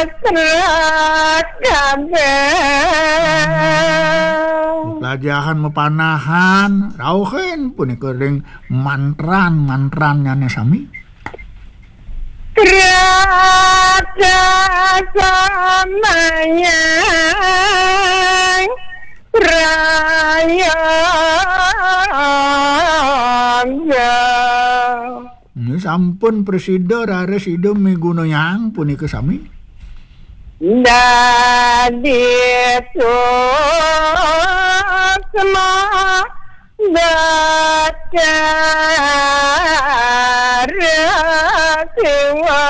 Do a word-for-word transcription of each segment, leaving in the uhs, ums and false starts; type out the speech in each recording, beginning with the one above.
Teras kabeh. Plajahan mapanahan, rauhin punika ring mantran-mantrannyane sami. Teras samayang prayoga. Ini sampun prasida raris Ida migunayang punika sami. Dadi suksma Batara Siwa.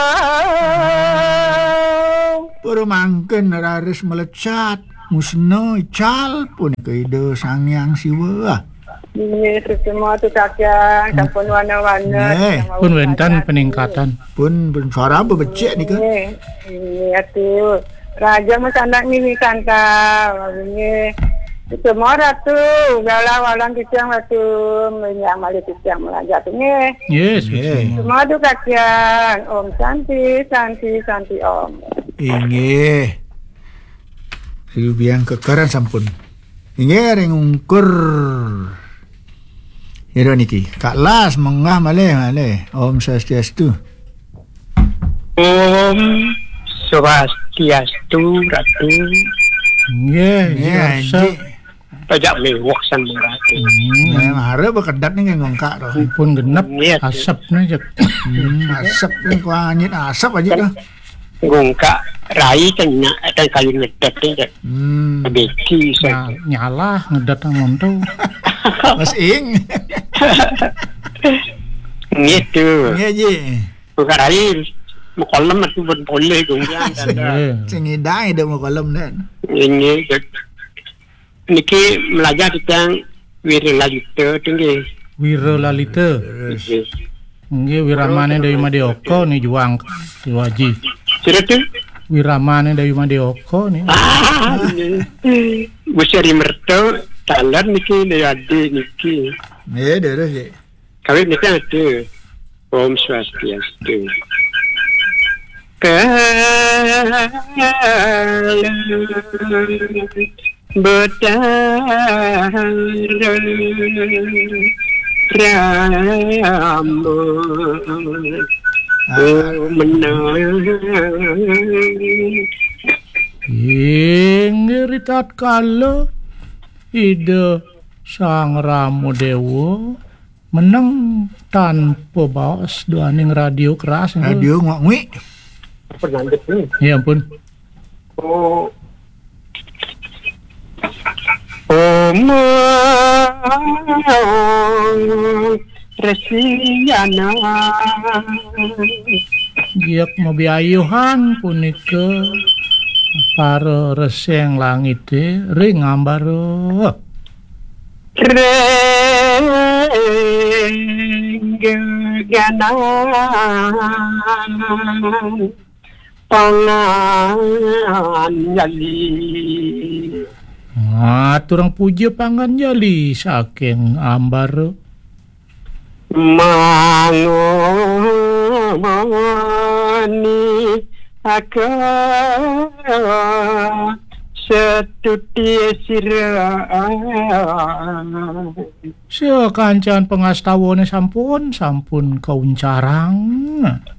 Para mangkin raris mlecat, musna ical punika Ida Sang Hyang Siwa. Nggih, suksma tu kakang, sampun wana-wana. Nggih. Pun wénten peningkatan. Pun, pun suara apa becik nika? Nggih, nggih, atuh. Raja masanak nini santa, nggih. Semua ratu, galah walang kicang ratu, minyak malih kicang melajat, nggih. Nggih, nggih. Semua tu kakang. Om Santi, Santi, Santi Om. Inggih. Ayu biang kekeran sampun. Inggih ring ungkur. Ira niki. Kak Las menggah malih, malih. Om Swastiastu. Om Swastiastu, Ratu. Nggih, nggih, Ratu. Pajak mewah san Ratu. Hmm. Nggih, mara bekedat nih nggih ngongkak to. Pun genep. Nggih, Ratu. Asep nih, Cek. Hmm, asep nih, kuah anyit asep aja to. Ngongkak rai kan nya-, kan kayu ngedet nih, Cek. Hmm. Beki, Cek. Nya-, nyalah ngedet amun to. Mas Ing. Nggih, to. Nggih, Ji. Buka rai, makolem atuh pun boleh, gonggang, tanda. Iya. Sing ngidang ida makolem, dan. Ini, niki melajah tentang Wira Lalita, tu, nggih. Wira Lalita. Terus. Nggih. Nggih, wiramane Dewi Madya Oka ni juang, Siwa Aji. Sira tu? Wiramane Dewi Madya Oka ni. Ah, nggih. Besi Ari Merta, taler niki, Dewi Adi niki. Nggih, terus, nggih. Kawit nika atu. Om Swastiastu. Kala Betara Rama. Ah. Menang. Inggih ritatkala Ida Sang Rama Dewa meneng tanpa baos duaning radio keras, nggih. Radio nguak-nguik. Apa nanduk ni? Ya ampun. Oh. Om Resiana. Giyak mabiayuhan punika para reseng langite ring ambara. Renggeganan panganjali. Aturang puja panganjali saking ambara. Mangoni aka setuti sira. Sakancan pangastawane sampun, sampun kauncarang.